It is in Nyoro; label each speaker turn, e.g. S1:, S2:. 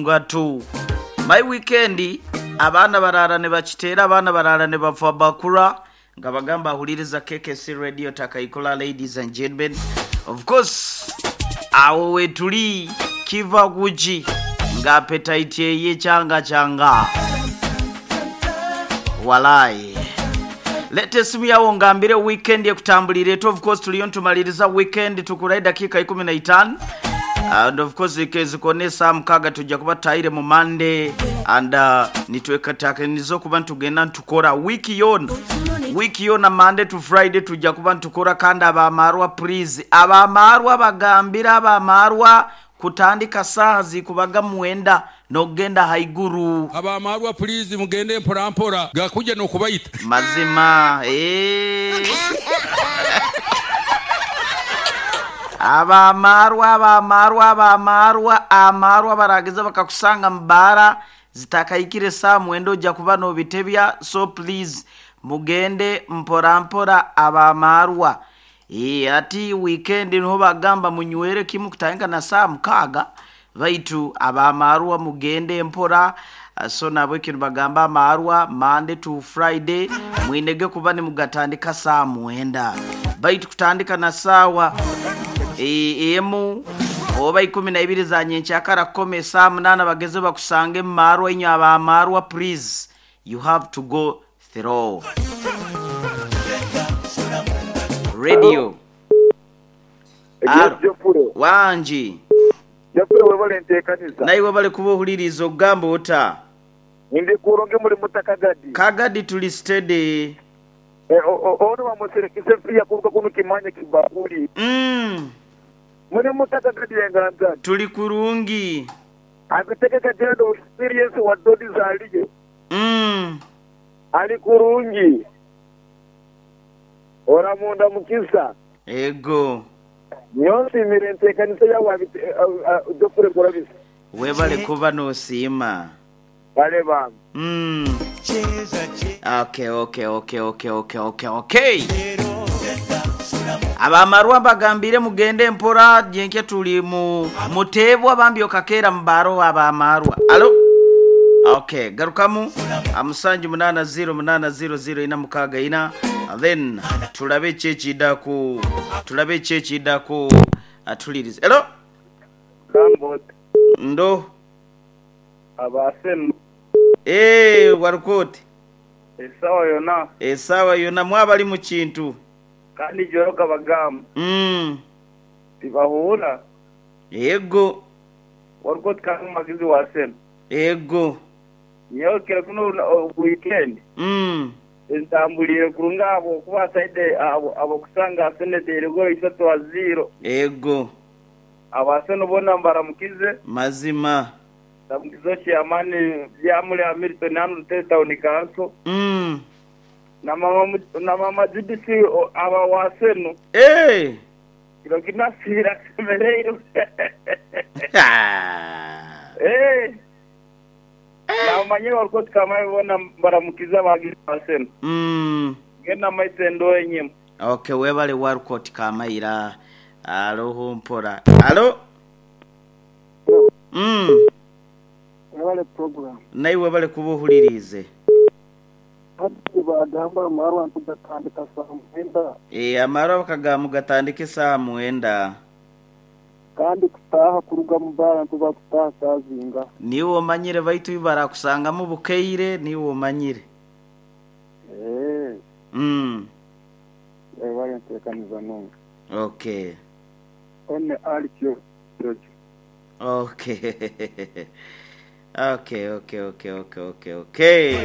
S1: Ngatu my weekend abaana baraara nibakiteera abaana baraara nibafa bakura nga bagamba ahuliriza KKC Radio Takaikura ladies and gentlemen of course awo wetuli kiva kuki nga appetite eye kyanga kyanga walai. Leta esimu yawo ongambire weekend ekutambulire eta of course tuliyo nitumaliriza weekend tukura edakiika ikumi na itaanu and of course kezikona esaha mukaaga tuja kuba tutahire mu Monday and nitwekatakaniza okuba nitugenda nitukora week yoona week yoona Monday to Friday tuja kuba nitukora kandi abamarwa please abamarwa bagambire abamarwa Kutandika saaha zikubaga mwenda nokugenda haiguru.
S2: Abamarwa pulizi mugende mpora mpora gakuja nokubaita.
S1: Mazima eeh. Abamarwa abamarwa abamarwa amarwa barageza bakakusanga mu baara zitakahikire saaha mwenda oja kuba nobitebya so please mugende mpora mpora abamarwa. Eeh hati weekend niho bagamba munywere kimu kutandika na saaha mukaaga baitu abamarwa mugende mpora so nahabwekyo nibagamba amarwa Monday to Friday mwinege kuba nimugatandika saaha mwenda baitu kutandika na saawa emu oba ikumi naibiri za nyenkyakara kukoma esaaha munaana bageze bakusange mumarwa inywe abamarwa please you have to go through. Radio.
S3: Yes Geoffrey.
S1: Wangi.
S3: Geoffrey webale entekaniza.
S1: Naiwe webale kuba ohuliriize ogamba ota?
S3: Ndi kulungi muli muta Kagadi?
S1: Kagadi tuli steady.
S3: Ono bamuserekise fiya kuruga kunu kimanya kibakuli. Muli muta Kagadi enganzani?
S1: Tuli kurungi.
S3: Abitegeka jendo experience wa dodi zaliye. Ali kurungi. Oramunda mukisa.
S1: Ego.
S3: Nyowe nsiimire enteekanisa yawe Geoffrey Kurabisa.
S1: Webale kuba nosiima.
S3: Kale bambi.
S1: Mm. Okay, okay, okay, okay, okay, okay, okay. Abamarwa mbagambire mugende mpora nyenkya tuli mu muteebwa bambi okakeera mu baaro abamarwa. Alo? Okay, garukamu amusanju munana ziro munana ziro ziro ina mukaaga ina then tulabe ki ekidaku tulabe ki ekidaku atulirize. Hello? Ndo.
S4: Abaasenu.
S1: Eeh warukoti.
S4: Esaawa yona.
S1: Esaawa yona mwaba ali mu kintu.
S4: Kandi joroka bagamba. Tibahuura.
S1: Ego.
S4: Warukoti kandi omuhagizi wa Arsenal.
S1: Ego.
S4: Nyowe kiro kinu weekend. Entambuliire kurungi ahabw'okuba saidi ahabw'okusanga Arsenal eteire goolo isatu aha ziiro.
S1: Ego.
S4: Aba Arsenal boona mbaramukize.
S1: Mazima.
S4: Ndamukize Chairman Byamuli Hamilton hanu Rutare Town Council. Na mama na mama Judith aba wa Arsenal.
S1: Eeh.
S4: Kiro kinu asiire ashemereirwe. Eeh. Nabamanyire Walcott Kamayi boona mbaramukize abahagizi ba Arsenal. Genda mumaiso endooho enyima.
S1: Ok webale Walcott Kamaira aloho mpora. Alo?
S5: Webale program.
S1: Naiwe webale kuba ohuliriize.
S5: Hati bagamba amarwa nti gatandika saaha mwenda.
S1: Eeh amarwa bakagamba mugatandike esaaha mwenda.
S5: Kandi kutaaha kuruga mu baara nituba kutaaha saaha zingaha?
S1: Niiwe omanyire baitu barakusangamu bukaire niiwe omanyire.
S5: Eeh. Webale enteekaniza nungi.
S1: Okay.
S5: One Ali Kyojo.
S1: Okay. Okay, okay, okay, okay, okay, okay.